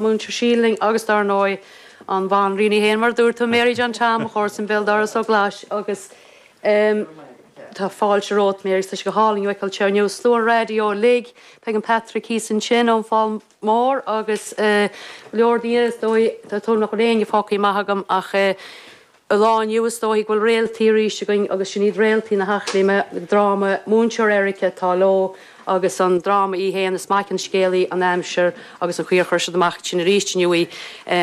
Múinteoir Síle linn agus dar ndóigh an bhanríon í féin mar a dúirt tú, Mary John Tom, a chomharsan béal dorais ó Ghlais agus tá fáilte romhat Mary, tá sé go hálainn thú a fheiceáil anseo inniu. Slua an raidió uilig, Peig and Patrick thíos ansin ón Fál Mór agus go leor daoine is dóigh, tá dóigh nach bhfuil éinne fágtha amach agam ach An lá inniu is dóichí go bhfuil réaltaí arís againn agus sin iad réaltaí na hEachléime, dráma Múinteoir Erica atá leo agus an dráma í fhéin, is maith an scéal í an aimsir agus an chaoi ar chuir siad amach ansin arís inniu í.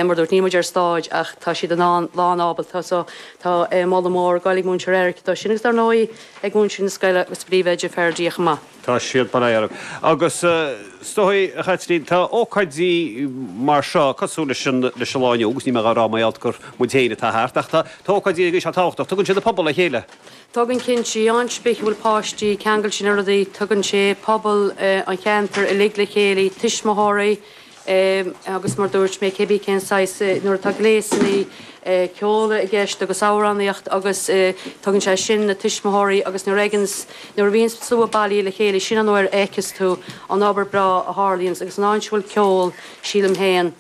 Mar dúirt, níl muid ar stáid ach tá siad in ann, lán ábalta so tá moladh mór ag goil ag Múinteoir Erica dó sin agus dar ndóigh ag múinteoirí na scoile agus príomhoide Ferdia chomh maith. Tá siad, bail ó Dhia orthu. Agus is dóigh, a Chaitlín, tá ócáidí mar seo cosúil leis an leis an lá inniu, agus níl mé dhá rá mar gheall gur muid féin atá thart, ach tá tá ócáidí agaibh seo tábhachtach. Tugann siad an pobal le chéile. Tugann cinnte, áit ar bith a bhfuil páistí ceangailte na rudaí, tugann sé pobal an cheantair uilig le chéile, tuismitheoirí, Agus mar dúirt mé, cé bith cén saghas, nuair atá gléasanna ceoil i gceist agus amhránaíocht agus tugann sé sin na tuismitheoirí agus nuair a fheiceanns, nuair a bhíonns slua bailithe le chéile, sin an uair a fheiceas tú an obair breá a tharlaíonns agus an áit a bhfuil ceol, sílim féin,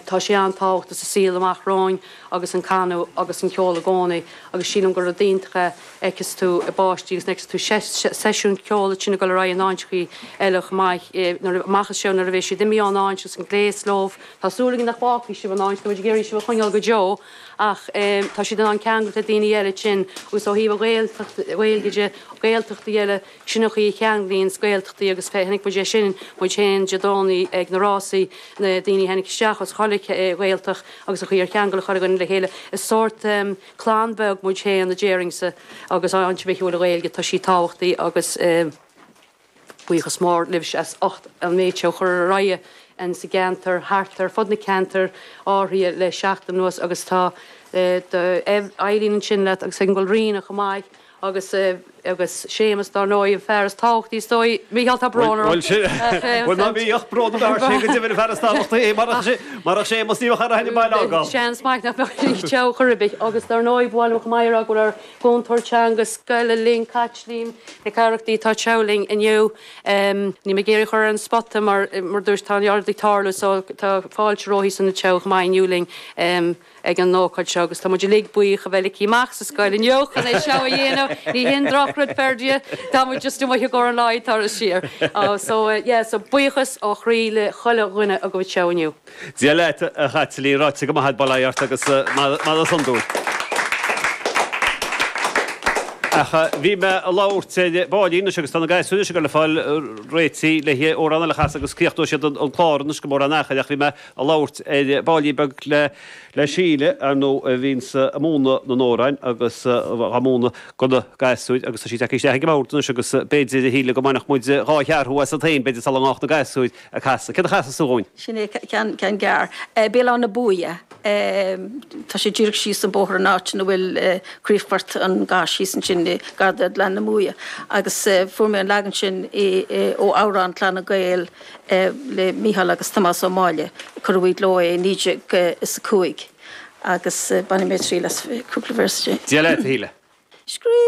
tá sé an-tábhachtach sa saol amach romhainn agus an canadh agus an ceol i gcónaí agus sílim gur rud iontach é. fheiceas tú i bpáistí agus fheiceas tú seisiún ceoil ansin ag dul ar aghaidh in áiteachaí eile chomh maith nuair amach as seo nuair a bheidh siad imithe ón áit agus an gléas leo. Tá súil againn nach bhfágfaidh sibh an áit, tá muid ag iarraidh sibh a choinneáil go deo ach tá siad in ann ceangailt le daoine eile ansin agus ó thaobh an Ghaeltacht, Ghaeilge de, Gaeltachtaí eile, sin an chaoi a cheanglaíonns Gaeltachtaí agus chonaic muid é sin muid féin Dé Domhnaigh ag na rásaí, na daoine a tháinig isteach as chuile Ghaeltacht agus an chaoi ar cheangail chuile dhuine le chéile. Is sórt. Clann bheag muid féin a déarfainnse agus áit ar bith a bhfuil an Ghaeilge tá sí tábhachtaí agus buíochas mór libhse as ucht an méid seo a chur ar aghaidh in sa gceantar thart ar fud na ceantair áirithe le seachtain anuas agus tá Eileen ansin leat agus ag an bhfuil Ríona chomh maith Agus, agus Séamus dár ndóigh, an fear is tábhachtaí is dóigh. Mícheál, tá brón orm. Bhuel, sin, bhuel ná bíodh brón ort, tá sé go deimhin an fear is tábhachtaí é, marach sé, marach Séamus ní bheadh ar aithne baile agam. Seans maith nach mbeadh anseo chor ar bith. Agus dár ndóigh, ba mhaith liom chomh maith a rá go bhfuil ár gcúntóir teanga scoile linn, Caitlín Nic Oireachtaigh, atá anseo linn inniu. Níl mé ag iarraidh a chur ar an spota mar, mar dúirt, tá an oiread ag tarlú so tá fáilte roimpi san anseo chomh maith inniu linn. ag an ócáid seo agus tá muid uilig buíoch a bheith ligthe amach sa scoil inniu chun é seo a dhéanamh. Ní haon drochrud Ferdia, tá muid just amuigh i gcomhair an lae tar siar. So yeah, so buíochas ó chroí le chuile dhuine agaibh anseo inniu. Dia leat a Chaitlín, ráite go maith agat, bail ó Dhia ort agus maith as san dúinn. Ach bhí mé ag labhairt ar baillín anois agus tá na gasúir anois ag dul ag fáil réitithe le hamhrán eile a chasadh agus críochnóidh siad an clár anois go mór an achair ach bhí mé ag labhairt ar baillín beag le le Síle, ar ndóigh, a bhíonns ag múineadh na n-amhrán agus á múineadh do na gasúir agus tá sí tagtha isteach ag an mbord anois agus b'fhéidir, a Shíle, go mbainfeadh muid dhá cheathrú asat féin, b'fhéidir, sula ngabhfadh na gasúir ag casadh. Céard a chasfas tú dhúinn? Sin é, ceann, ceann gearr. Béal Átha na Buaidhe. Tá sé díreach síos an bóthar an áit ina bhfuil críochfort an gáis thíos ansin, gar do Ghleann na Muaidhe. Agus fuair mé an leagan sin ó amhrán Clanna Gael, le Mícheál agus Tomás Ó Máille. Cuireadh i gcló é i 1905 agus bainfidh mé triail as cúpla véarsa de. Dia leat, a Shíle. Scríobh.